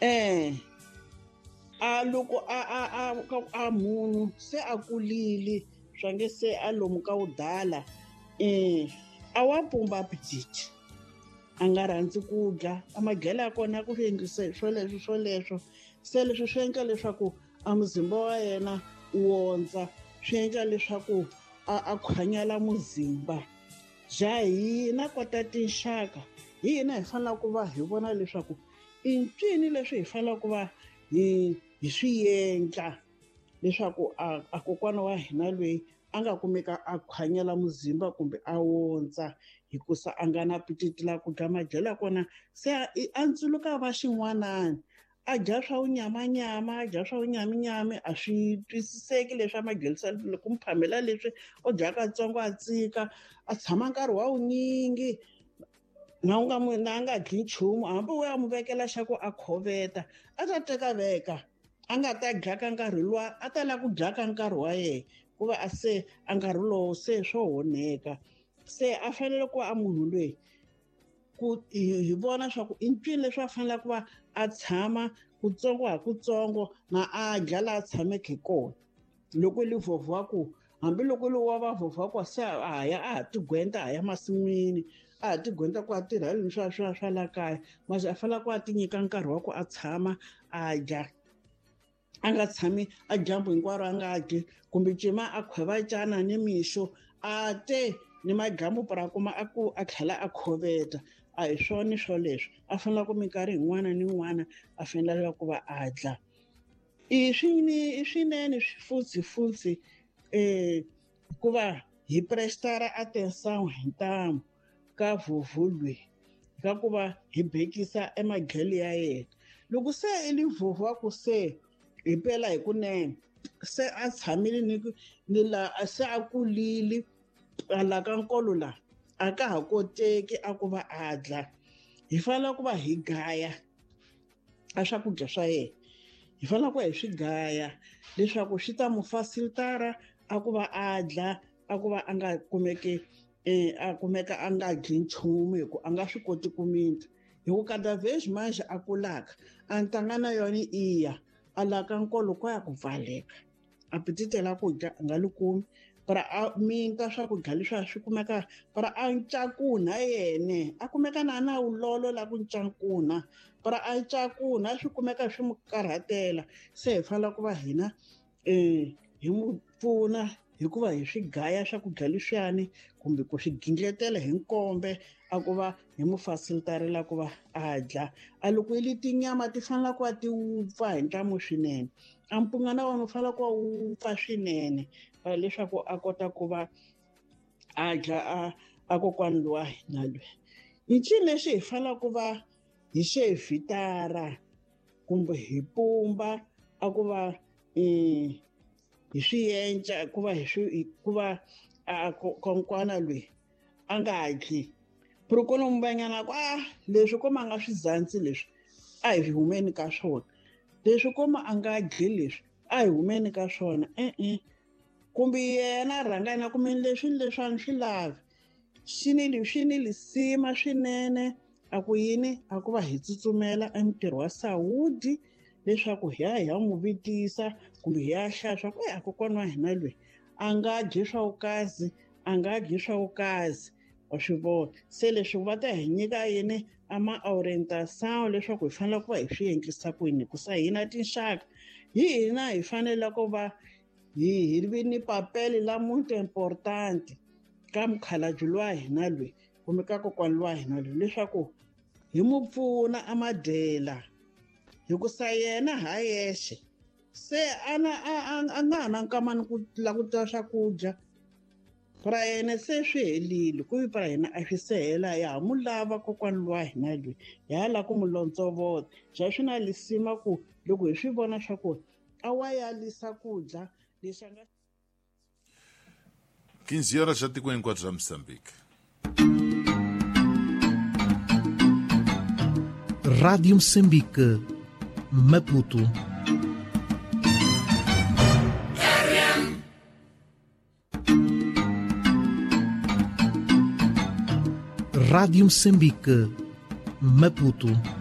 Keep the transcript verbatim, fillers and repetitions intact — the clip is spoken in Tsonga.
Eh a loko a a a a munhu se a kulile swa nge se a lomu ka wudala eh a wa pumba appetite a nga rhandzi ku dya a madyelo ya kona ku endlise swoleswo swoleswo se leswi swi endla leswaku a muzimba wa yena wu wondza swi endla leswaku a a khwanyela muzimba bya hina kota tinxaka hi hina hi fanele ku va hi vona leswaku i ncini leswi hi fanele ku va hi hi swi endla leswaku a a kokwana wa hina loyi a nga kumeka a khwanyela muzimba kumbe a wondza hikusa a nga na appetite la ku dya madyelo ya kona se a ntsuluka va xin'wanani a dya swa wunyamanyama a dya swa wunyaminyami a swi twisiseki leswi a madyelisa ku mu phamela leswi o dya katsongo a tsika a tshama nkarhi wa wunyingi na u nga mu na a nga dyi nchumu hambi wo ya mu vekela xa ku a khoveta a ta teka veka a nga ta dya ka nkarhi luwa a ta lava ku dya ka nkarhi wa yena ku va a se a nkarhi lowo se swo honeka se a fanele ku va a munhu loyi ku hi vona swa ku i ncini leswi a fanele ku va a tshama kutsongo ha kutsongo na a dya laha a tshameke hi kona loko li vhovho wa ku hambiloko li wa va vhovho wa ku se a ha ya a ha tigwenta a ya masin'wini a ha tigwenta ku a tirha yini swa swa swa la kaya mase a fanele ku a ti nyika nkarhi wa ku a tshama a dya a nga tshami a dyambu hinkwaro a nga dyi kumbe cima a khweva cana ni mixo a te ni madyambu pra kuma a ku a tlhela a khoveta a hi swona swoleswo a fanele ku minkarhi yin'wana ni yin'wana a fanele ku va a dla i swini i swinene futhi futhi eh ku va hi prestara atenção hi ntamu ka vhovho ka ku va hi bekisa emadyelo ya yena loko se i li vhovho wa ku se hi pela hi kunene se a tshamile ni ni la se a kulile a la ka nkolo la a ka ha koteki a ku va a dla hi fanele ku va hi gaya a swakudya swa yena hi fanele ku va hi swi gaya leswaku swi ta mu facilitara a ku va a dla a ku va a nga kumeki eh a kumeka a nga dyi nchumu hi ku a nga swi koti ku minta hi ku kada vez manje a kulaka a ntanga na yona iya a la ka nkolo ko ya ku pfaleka appetite la ku dya a nga li kumi para a minta swakudya leswi a swi kumeka para a ncakunha yene a kumeka na na wulolo la ku ncakunha para a ncakunha swi kumeka swi mu karhatela se hi fanele ku va hina eh hi mu pfuna hikuva hi swi gaya swakudya leswiyani kumbe ku swi gindletela hi nkombe a ku va hi mu facilitarela ku va a dya a loko yi li tinyama ti fanele ku va ti wupfa hi ntlamo swinene a mpunga na wona wu fanele ku va wupfa swinene leswaku a kota ku va a dya a a kokwana lowa hina loyi hi ncini lexi hi fanele ku va hi xe vitara kumbe hi pumba a ku va um hi swi endla ku va hi swi ku va a kokwana loyi a nga dyi prokolombanyana ku a leswi koma a nga swi zantsi leswi a hi humeni ka swona leswi koma a nga dyi leswi a hi humeni ka swona e-e kumbe yena rhanga yena kumbe leswi ni leswi a ni swi lavi xi ni swi ni lisima swinene a ku yini a ku va hi tsutsumela emintirho wa sawudi leswaku hi ya hi ya n'wi vitisa kumbe hi ya hlaya swa ku a kokwana wa hina loyi a nga dyi swa vukazi a nga dyi swa vukazi wa swi vona se leswi va ta hi nyika yini a ma orientation leswaku hi fanele ku va hi swi endlisa ku yini hikusa hina tinxaka hi hina hi fanele ku va hi hi vi ni papele la muito importante ka mukhalabye lowa hina loyi kumbe ka kokwana lowa hina loyi leswaku hi mu pfuna a madyela hikusa yena ha yexe se a na a a nga ha na nkamani ku languta swakudya pra yena se swi helile ku vi pra hina a swi se hela ya ha mu lava kokwana lowa hina loyi ya ha lava ku mu lontsovota bya swi na lisima ku loko hi swi vona swa ku a wa yalisa ku dya lexi a nga quinze horas já tikweni hinkwabyo bya Moçambique. Rádio Moçambique, Maputo. Rádio Moçambique, Maputo.